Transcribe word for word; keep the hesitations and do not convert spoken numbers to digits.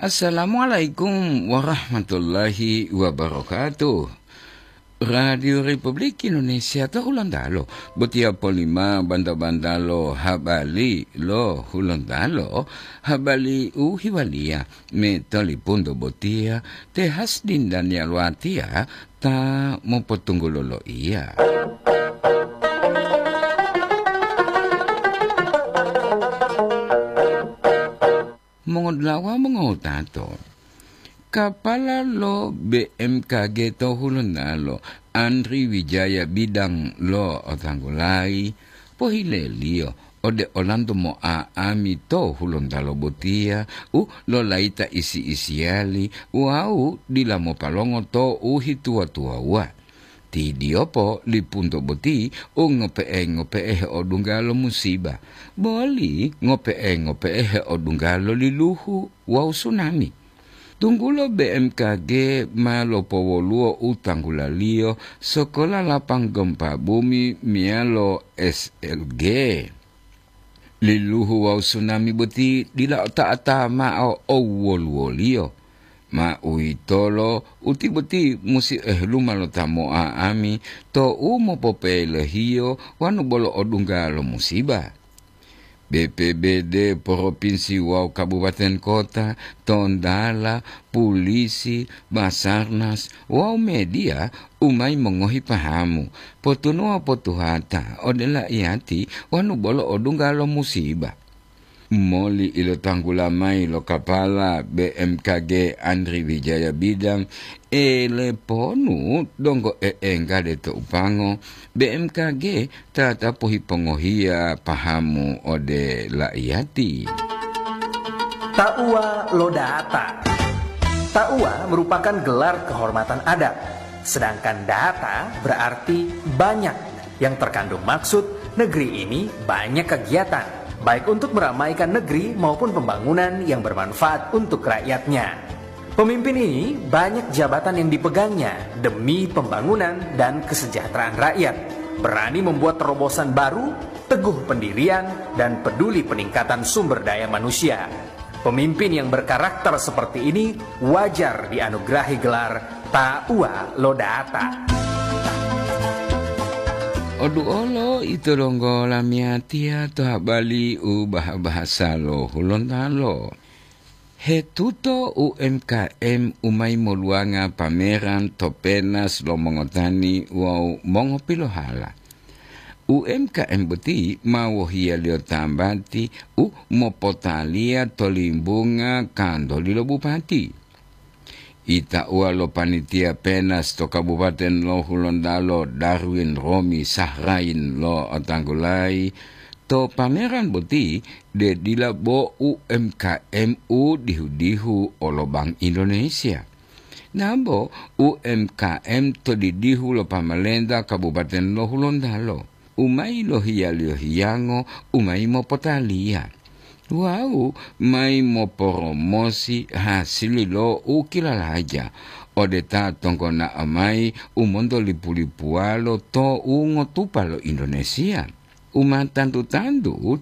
Assalamualaikum warahmatullahi wabarakatuh. Radio Republik Indonesia to Hulontalo, botiya polima banta-bantalo habali lo Hulontalo, habali u hiwaliya me tolipunto botiya te Hasdin Daniel Watia ta mopotunggulo loiya. Mongodulawa mongotato, kapala lo B M K G to Hulontalo, Andri Wijaya Bidang lo otanggulayi, pohileliyo ode olanto mo'a'ami to Hulontalo botiya u lolayita isi-isiyali wawu dila mopalongo to u hituwa-tuwawuwa. Tidiyopo lipunto boti u ngope'e-ngope'e heodungga lo musiba, boli ngope'e-ngope'e heodungga lo liluhu wawu sunami. Tunggulo B M K G ma lopowoluwo u tanggulaliyo sokola lapang gempa bumi meyalo S L G. Liluhu wawu sunami boti dila ota'a-ta'a mao owoluwoliyo. Ma uwitolo, uti boti musi eheluma lo ta mo'a'ami to u mopopelohiyo wanu bolo odungga lo musiba. B P B D, poropinsi wawu kabupaten kota, tondala, pulisi, Basarnas, wawu mediya u mayi mongohi pahamu, potunuwa potuhata ode laiyati wanu bolo odungga lo musiba. Moli ilotanggula mayi lo kapala B M K G Andri Wijaya Bidang, eleponu donggo e'enggade to upango, B M K G ta ta pohipongohiya pahamu ode laiyati. Tauwa lo data. Tauwa merupakan gelar kehormatan adat, sedangkan data berarti banyak yang terkandung maksud negeri ini banyak kegiatan, baik untuk meramaikan negeri maupun pembangunan yang bermanfaat untuk rakyatnya. Pemimpin ini banyak jabatan yang dipegangnya demi pembangunan dan kesejahteraan rakyat, berani membuat terobosan baru, teguh pendirian, dan peduli peningkatan sumber daya manusia. Pemimpin yang berkarakter seperti ini wajar dianugerahi gelar Tauwa lo Data. Oduolo ito donggo lamiyatiya to habali u baha-bahasa lo Hulontalo. Hetuto U M K M u mayi moluwanga pameran to penas lo mongotani wawu mongopilohala. U M K M boti ma wohiyaliyo tambati u mopotaliya to limbunga kantoli lo bupati. Itauwa lo panitia penas to Kabupaten lo Hulontalo, Darwin Romi Sahrain lo otanggulayi, to pameran boti de dila bo U M K M u dihu-dihu olo Bank Indonesia. Nambo U M K M to didihu lo pamalenta Kabupaten lo Hulontalo, u mayi lohiyaliyo hiyango u mayi mopotaliya wawu mayi moporomosi hasili lo u kilalaja ode ta tonggonao mayi u monto lipu-lipuwalo to u ngotupa lo Indonesia. U ma tantu-tantu